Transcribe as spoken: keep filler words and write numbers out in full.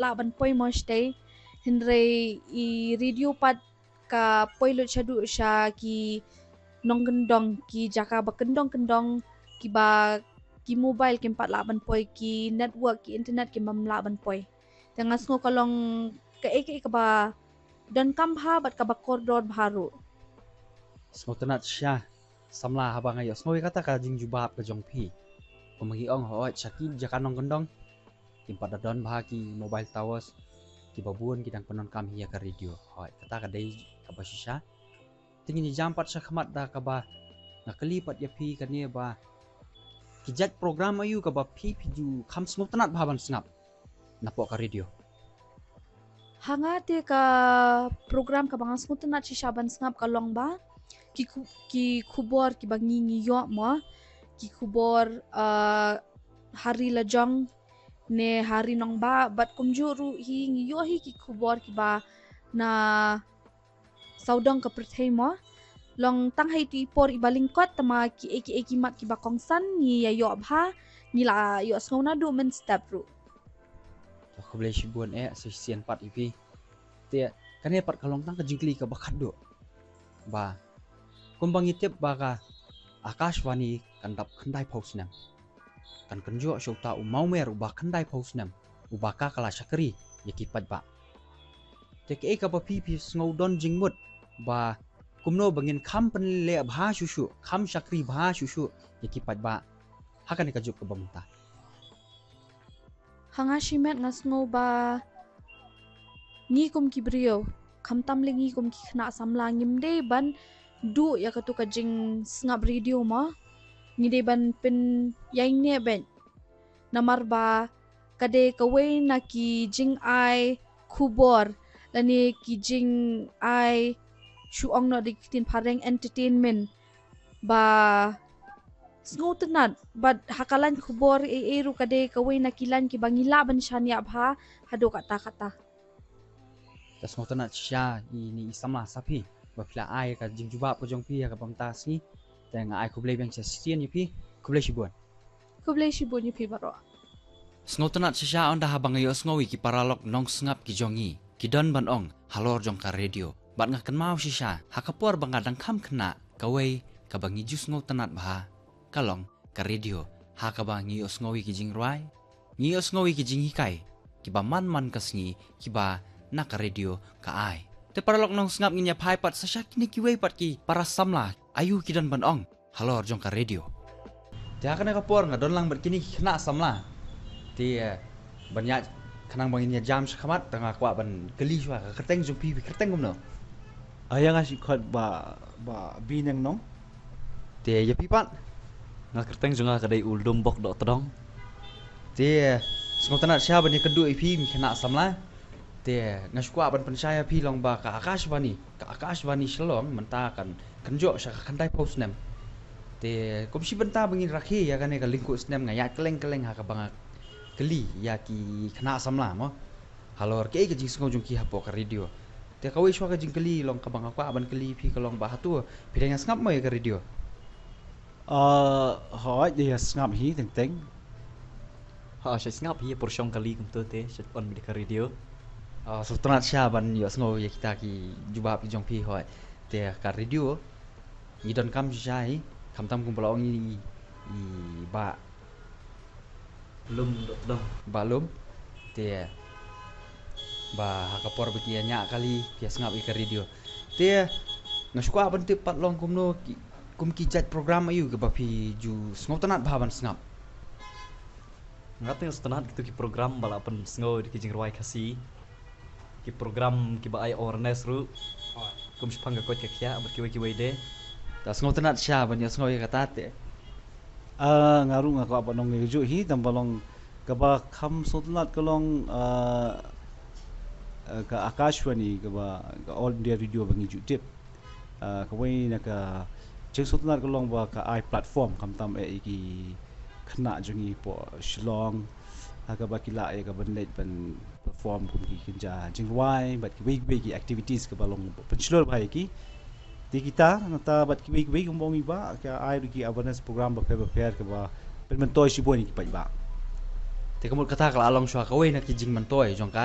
lah ban poi mo shatei. Hynrei i radio pat ka poi lut shaduh sha ki nongkyndong, ki jaka ba kyndong kyndong, kiba ki mobile kim pat lah ban poi, ki network, ki internet kim bym lah ban poi. Te nga sngew ka long kaei kaei kaba donkam bha bad kaba kordor bha ruh. Sngewtynnat shisha samla haba nga ïohsngew ïa kata ka jingjubab ka jong phi. Kumba ngi ong, hooid, sha ki jaka nongkyndong kim pat da don bha ki mobile towers, kiba bun ki dang pyndonkam hi ïa ka radio. Hooid, kata ka dei kaba shisha. Te ngin ïa jam pat shakhmat da kaba nga kylli pat ïa phi kane ba ki jait program aïu kaba phi phi ju kham sngewtynnat bha ban sngap napoh ka radio? Ha nga te ka program kaba nga sngewtynnat shisha ban sngap ka long ba ki khu-, ki khubor kiba ngi ngi ïoh mo, ki khubor, ah, ha ri la jong ne ha ri nongbah, bad kumjuh ruh hi ngi ïoh hi ki khubor kiba na sawdong ka pyrthei mo. Long tang ha itu i por iba lyngkot, tangba kiei kiei ki mat kiba kongsan ngi ïa ïoh bha, ngi la ïohsngew naduh mynstep ruh. Khublei shibun eh, sa shisien pat ïa phi. Te kane pat ka long tang ka jingkylli kaba khatduh. Ba kumba ngi tip ba ka Akashvani kan dap khyndai phew snem. Kan kynjoh sha uta u mawmer uba khyndai phew snem, uba ka ka la shakri ïa ki paidbah. Te kaei kaba phi phi sngew don jingmut ba kumno ba ngin kham pynleh bha shuh shuh, kham shakri bha shuh shuh ïa ki paidbah ha kane ka juk kaba mynta? Ha nga shimet nga sngew ba ngi kum ki briew, khamtam lei ngi kum ki khynnah samla, ngim dei ban duh ïa katu ka jingsngap radio mo. Ngi dei ban pynïaineh beit. Namar ba ka dei kawei na ki jingai khubor lane ki jingai, shu ong noh da ki ktien phareng, entertainment, ba sngewtynnat. Bad ha ka lain khubor ei ei ruh ka dei kawei na ki lain kiba ngi lah ban shaniah bha haduh katta katta. Te sngewtynnat shisha ïa ine i samla sa phi ba phi la ai ka jingjubab ka jong phi ha kaba mynta ka sngi. Te nga ai khublei biang shisien ïa phi. Khublei shibun. Khublei shibun ïa phi baroh. Sngewtynnat shisha ynda haba nga ïohsngew ïa ki paralok nongsngap ki jong ngi ki don ban ong halor jong ka radio. Bad nga kynmaw shisha ha ka por ba nga dang kham khynnah, kawei kaba ngi ju sngewtynnat bha ka long ka radio, ha kaba ngi ïohsngew ïa ki jingrwai, ngi ïohsngew ïa ki jinghikai kiba man man ka sngi kiba na ka radio ka ai. Te paralok nongsngap, ngin ïa phai pat sa sha kine kiwei pat ki para samla, aïu ki don ban ong halor jong ka radio. Te ha kane ka por nga don lang bad kine ki khynnah samla. Te, eh, ban ïa khnang ba ngin ïa jam shakhmat, te nga kwah ban kylli shuwa, ka kyrteng jong phi, phi kyrteng kumno? Ïa nga shi khot ba, ba Bineng Nong. Te ïa phi pat? Nga kyrteng jong nga ka dei u Ldumbok Dohtdong. Te, eh, sngewtynnat shisha ban ïa kynduh ïa phi, ki khynnah samla. Te nga shu kwah ban pynshai ïa phi long ba ka Akashvani, ka Akashvani Shillong mynta kan kynjoh sha ka khyndai phew snem. Te kum shi bynta ba ngin rakhe ïa kane ka lyngkhuh snem, nga ïaid kylleng kylleng ha kaba nga kylli ïa ki khynnah samla mo halor kaei ka jingsngew jong ki hapoh ka radio. Te kawei shuwa ka jingkylli long kaba nga kwah ban kylli phi ka long ba hato phi dang ïa sngap mo ïa ka radio? Ah, hooid, ïa sngap hi teng teng. Ha, sha sngap hi, por shong kali kumto te sha on bad ka radio. Ah, sngewtynnat shisha ban ïohsngew ïa kita ki jubab ki jong phi, hooid. Te ka radio ngi donkam shisha hi, khamtam kumba la ong i, i Bah Lum Dohtdong. Bah Lum. Te ba ha ka por ba ki ïa ñiah kali phi ïa sngap ïa ka radio. Te nga shu kwah ban tip pat long kumno ki, kum ki jait program aïu kiba phi ju sngewtynnat bha ban sngap? Nga te nga sngewtynnat kito ki program ba la pynsngew da ki jingrwai Khasi, ki program kiba ai awareness ruh, kum shaphang ka koit ka khiah bad kiwei kiwei de. Te sngewtynnat shisha ban ïohsngew ïa kata te. Ah, nga ruh nga kwah ban ong ïa kajuh hi, tang ba long kaba kham sngewtynnat ka long, ah, ah, ka Akashvani, kaba ka All India Radio ba ngi ju tip. Ah, kawei na ka jingsngewtynnat ka long ba ka ai platform khamtam eh ïa ki khynnah jong ngi hapoh Shillong, ha kaba ki lah ïa ka ban leit ban perform kum ki kynja jingrwai bad kiwei kiwei ki activities kaba long pynshlur bha ïa ki. Te kita nangta bad kiwei kiwei kumba ong i Bah, ka ai ruh ki awareness program bapher bapher kaba pynmyntoi shibun ïa ki paidbah. Te ka mut kata ka la long shuwa kawei na ki jingmyntoi jong ka,